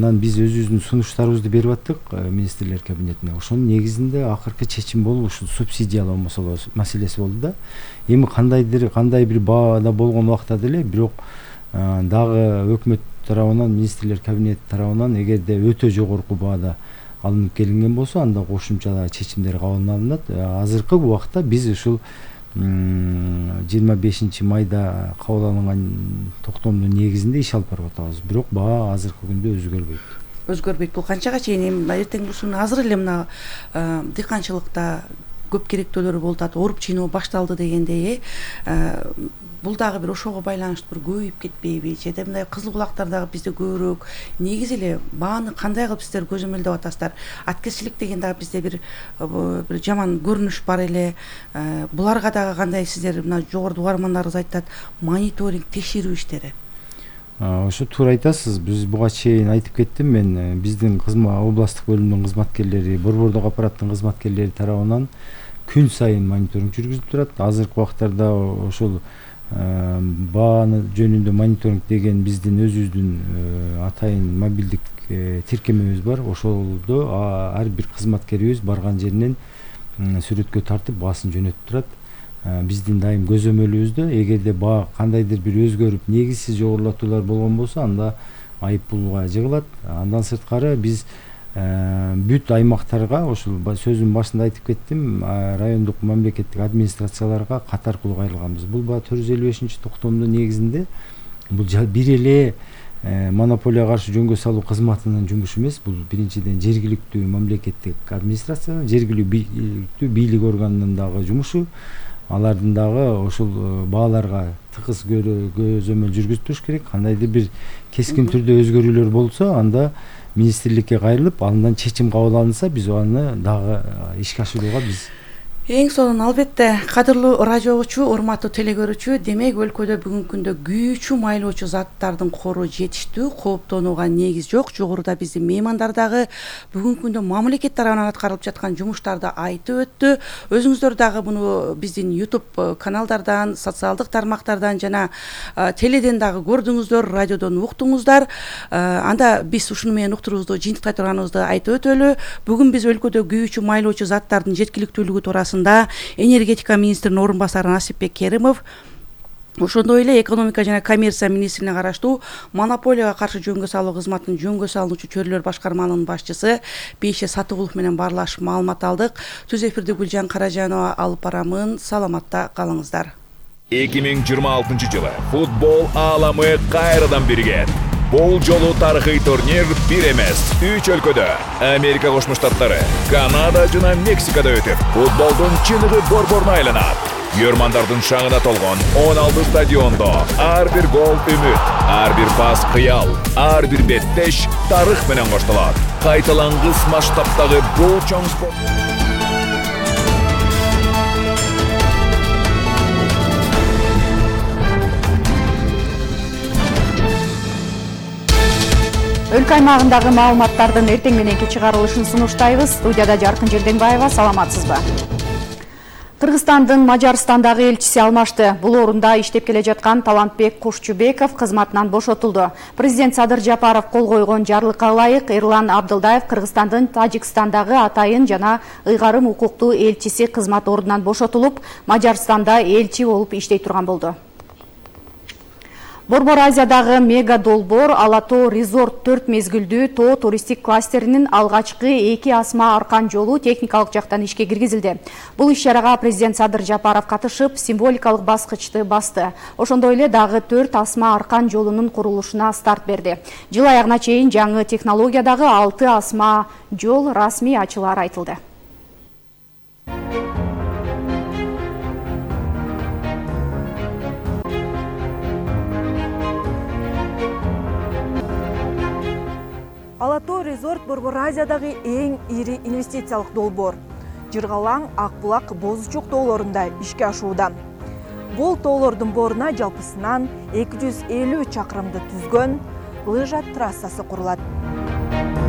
Анан биз өзүбүздүн сунуштарыбызды берип аттык министрлер кабинетине. Ошонун негизинде акыркы чечим болуп ушул субсидиялоо маселеси болду да. Эми кандай бир баада болгон убакта деле бирок дагы өкмөт тарабынан, министрлер кабинети тарабынан эгерде өтө жогорку баада алынып келинген болсо, анда кошумча дагы чечимдер кабыл алынат. Азыркы убакта биз ушул 25 майда кабыл алынган токтомдун негизинде иш алып барып атабыз. Бирок баа азыркы күндө өзгөрбөйт. Бул канчага чейин эртең ушуну азыр эле мына дыйканчылыкта көп керектөөлөр болуп атат, оруп чыйноо башталды дегендей, бул дагы бир ошого байланыштуу бир көбөйүп кетпейби? Же мындай кызыл булактар дагы бизде көбүрөөк. Негизи эле бааны кандай кылып сиздер көзөмөлдөп атасыздар? Аткезчилик деген дагы бизде бир жаман көрүнүш бар эле. Буларга дагы кандай сиздер мына жогорку угармандарыбыз айтат, мониторинг, текшерүү иштери? Ошо туура айтасыз. Биз буга чейин айтып кеттим мен, биздин областтык бөлүмдүн кызматкерлери, Борбордук аппараттын кызматкерлери тарабынан күн сайын мониторинг жүргүзүлүп турат. Азыркы убактарда ошол бааны жөнүндө мониторинг деген биздин өзүбүздүн атайын мобилдик тиркемебиз бар. Ошолдо ар бир кызматкерибиз барган жеринен сүрөткө тартып баасын жөнөтүп турат. Биздин дайым көзөмөлүбүздө эгерде баа кандайдыр бир өзгөрүп негизсиз жогорулатуулар болгон болсо, анда айыппулга жыгылат. Андан сырткары биз бүт аймактарга, ошол сөзүмдүн башында айтып кеттим, райондук мамлекеттик администрацияларга катар кайрылганбыз. Бул 455-токтомдун негизинде бул бир эле монополияга каршы жөнгө салуу кызматынын жумушу эмес. Бул биринчиден жергиликтүү мамлекеттик администрация, жергиликтүү бийлик органынын дагы жумушу. Алардын дагы ошол бааларга тыгыз көзөмөл жүргүзүп туруш керек. Кандайдыр бир кескин түрдө өзгөрүүлөр болсо, анда министрликке кайрылып, андан чечим кабыл алынса, биз аны дагы ишке ашырууга Эң сонун албетте, кадырлуу радиочу, урматтуу телекөрүүчү, демек өлкөдө бүгүнкү күндө күйүүчү майлоочу заттардын кору жетиштүү, кооптонууга негиз жок. Жогоруда биздин меймандар дагы бүгүнкү күндө мамлекет тарабынан аткарылып жаткан жумуштарды айтып өттү. Өзүңүздөр дагы муну биздин YouTube каналдардан, социалдык тармактардан жана теледен дагы көрдүңүздөр, радиодон уктуңуздар. Анда биз ушуну менен уктуруубузду жыйынтыктай турганыбызды айтып өтөлү. Бүгүн биз өлкөдө күйүүчү майлоочу заттардын жеткиликтүүлүгү туурасында энергетика министринин орун басары Насипбек Керимов, ошондой эле экономика жана коммерция министрине караштуу монополияга каршы жөнгө салуу кызматынын жөнгө салуучу чөйрөлөр башкарманын башчысы Бейше Сатыгулов менен баарлашып маалымат алдык. Түз эфирди Гүлжан Каражанова алып барамын. Саламатта калыңыздар. 2026 жылы футбол ааламы кайрадан биригет. Бул жолу тарыхый турнир бир эмес, 3 өлкөдө, Америка Кошмо Штаттары, Канада жана Мексикада өтүп, футболдун чыныгы борборуна айланат. Йөрмандардын шаңына толгон 16 стадиондо ар бир гол үмүт, ар бир пас кыял, ар бир беттеш тарых менен коштолот. Кайталангыс масштабтагы бул чоң спорт. Өлкө аймагындагы маалыматтардын эртең мененки чыгарылышын сунуштайбыз. Студияда Жаркын Жерденбаева, саламатсызбы? Кыргызстандын Мажарстандагы элчиси алмашты. Бул орунда иштеп келе жаткан Талантбек Кушчубеков кызматынан бошотулду. Президент Садыр Жапаров кол койгон жарлыкка ылайык Эрлан Абдылдаев Кыргызстандын Тажикстандагы атайын жана ыйгарым укуктуу элчиси кызмат ордунан бошотулуп, Мажарстанда элчи болуп иштей турган болду. Борбор Азиядагы мега долбоор Ала-Тоо Резорт 4 мезгилдүү тоо туристик кластеринин алгачкы 2 асма аркан жолу техникалык жактан ишке киргизилди. Бул иш-чарага президент Садыр Жапаров катышып, символикалык баскычты басты. Ошондой эле дагы 4 асма аркан жолунун курулушуна старт берди. Жыл аягына чейин жаңы технологиядагы 6 асма жол расмий ачылары айтылды. Ала-Тоо Резорт Борбор Азиядагы эң ири инвестициялык долбоор. Жыргалаң, Акбулак, Бозучук тоолорунда ишке ашууда. Бул тоолордун боруна жалпысынан 250 чакырымды түзгөн лыжа трассасы курулат.